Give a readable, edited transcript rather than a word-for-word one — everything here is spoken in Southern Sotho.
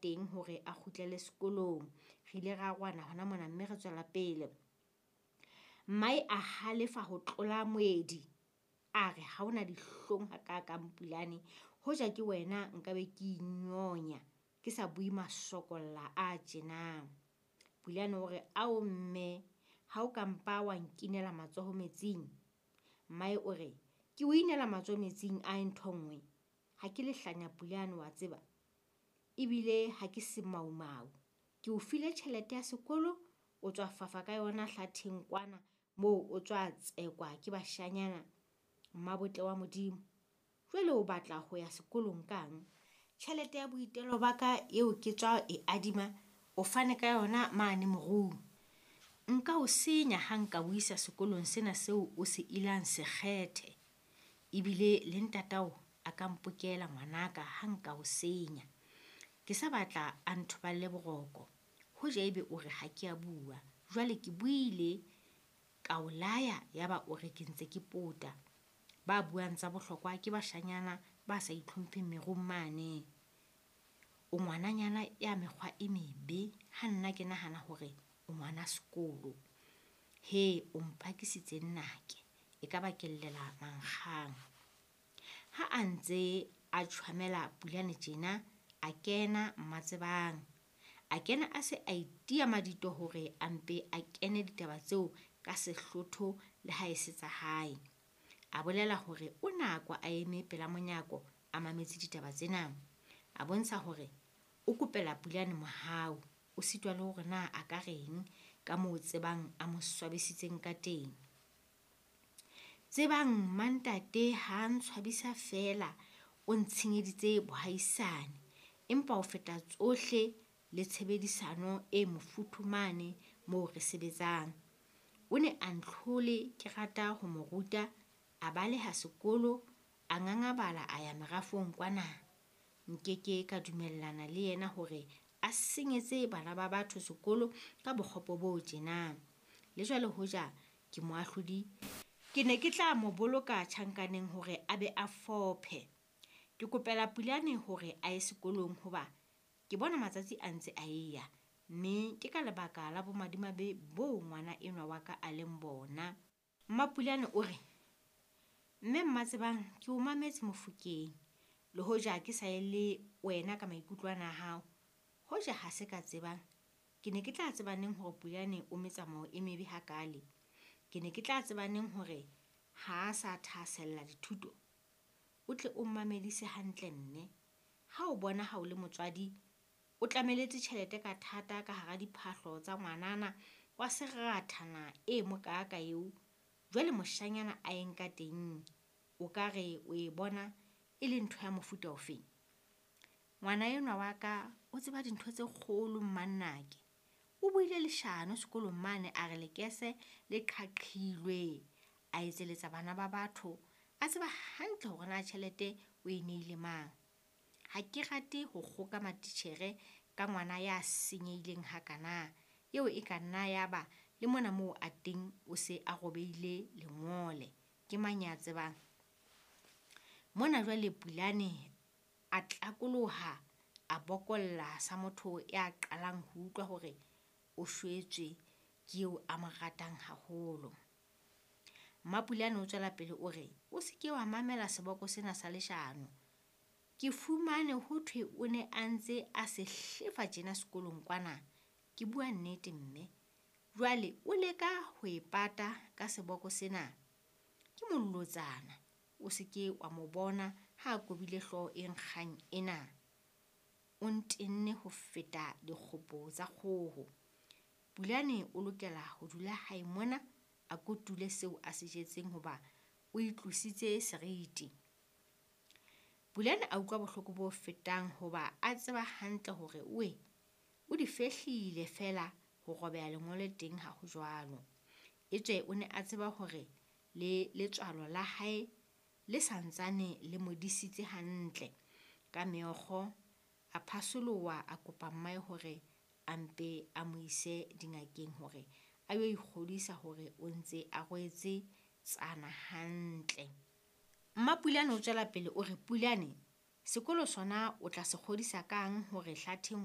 teng hore a kgutlele sekolong. Re ile ra arohana hona mona mme re tswela pele. Mmae a halefa ho tlola moedi. A re ha o na dihlong hakaakang Pulane, hoja ke wena nka be ke inyonya, ke sa bue masokolla a tjena. Pulane o re, ao mme, ha o ka mpa wa nkinela matsoho metsing. Mmae o re, ke o inela matsoho metsing a ntho nngwe. Ha ke lehlanya Pulane wa tseba, ebile ha ke semaumau. Ke o file tjhelete ya sekolo, o tswa fafa ka yona hlatheng kwana moo o tswa tsekwa ke bashanyana. Mmabotle wa Modimo, jwale o batla ho ya sekolong kang? Tjhelete ya boitelo ba ka eo ke tswa e adima, o fane ka yona mane morung. Nka o senya ha nka o isa sekolong sena seo o se ilang sekgethe. Ebile le ntatao a ka mpokela ngwanaka ha nka o senya. Ke sa batla a nthoballe boroko. Hoja ebe o re ha ke a bua. Jwale ke buile, ka o laya yaba o re ke ntse ke pota. Ba buang tsa bohlokwa ke bashanyana ba sa itlhompheng merung mane. O ngwananyana ya mekgwa e mebe, ha nna ke nahana hore o ngwana sekolo. He, o mpakisitse nnake, e ka ba ke llela mankgang. Ha a ntse a tjhwamela Pulane tjena, a kena Mmatsebang. A kena a se a itia madito hore a mpe a kene ditaba tseo ka sehlotho le ha e se tsa hae. A bolela hore o nako a eme pela monyako a mametse ditaba tsena. A bontsha hore o kopela Pulane mohau, o sitwa le hore na a ka reng ka moo Tsebang a mo swabisitseng ka teng. Tsebang mmantate ha a ntshwabisa feela, o ntshenyeditse bohaisane, empa ho feta tsohle le tshebedisano e mofuthu mane moo re sebetsang. O ne a ntlhole ke rata ho mo ruta, a baleha sekolo, a ngangabala a ya merafong kwana. Nkeke ka dumellana le yena hore a senyetse bana ba batho sekolo ka bokgopo bo tjena. Le jwale hoja ke moahlodi, ke ne ke tla mo boloka tjhankaneng hore a be a fophe. Ke kopela Pulane hore a ye sekolong hoba ke bona matsatsi a ntse a eya, mme ke ka lebaka la bomadimabe boo ngwana enwa wa ka a leng bona. Mmapulane o re, mme Mmatsebang ke o mametse Mofokeng, le hoja ke sa ye le wena ka maikutlo ana a hao. Hoja ha se ka tsebang, ke ne ke tla tseba neng hore Pulane o metsamao e mebe hakale? Ke ne ke tla tseba neng hore ha a sa thahasella dithuto? O tle o mmamedise hantle mme. Ha o bona ha o le motswadi, o tlameletse tjhelete ka thata ka hara diphahlo tsa ngwanana wa serathana e mokaaka eo, jwale moshanyana a e nka teng, o ka re o e bona e le ntho ya mofuta ofeng? Ngwana enwa wa ka o tseba dintho tse kgolo mmannake. O buile leshano sekolong mane a re lekese le qhaqhilwe, a etseletsa bana ba batho, a tseba hantle hore na tjhelete o e neile mang. Ha ke rate ho kgoka matitjhere ka ngwana ya senyehileng hakana, eo e ka nna ya ba le mona moo a teng o se a robehile lengole. Ke mang ya tsebang? Mona jwale Pulane a tlakoloha, a bokolla sa motho ya qalang ho utlwa hore o shwetswe ke eo a mo ratang haholo. Mmapulane o tswela pele o re, o se ke wa mamela seboko sena sa leshano. Ke fumane ho thwe o ne a ntse a se hlefa tjena sekolong kwana. Ke bua nnete mme. Jwale o leka ho e pata ka seboko sena. Ke molotsana, o se ke wa mo bona ha a kobile hlooho e nkgang ena. O ntenne ho feta dikgopo tsa kgoho. Pulane o lokela ho dula hae mona a kotule seo a se jetseng hoba o itlositse seriti. Pulane a utlwa bohloko bo fetang hoba a tseba hantle hore oe o di fehlile feela ho robeha lengole teng ha ho jwalo. Etswe o ne a tseba hore le letswalo la hae le santsane le mo disitse hantle. Ka meokgo a phasoloha a kopa mmae hore a mpe a mo ise dingakeng hore a yo ikgodisa hore o ntse a rwetse tsana hantle. Mmapulane o tswela pele o re, Pulane, sekolo sona o tla se kgodisa kang hore hlatheng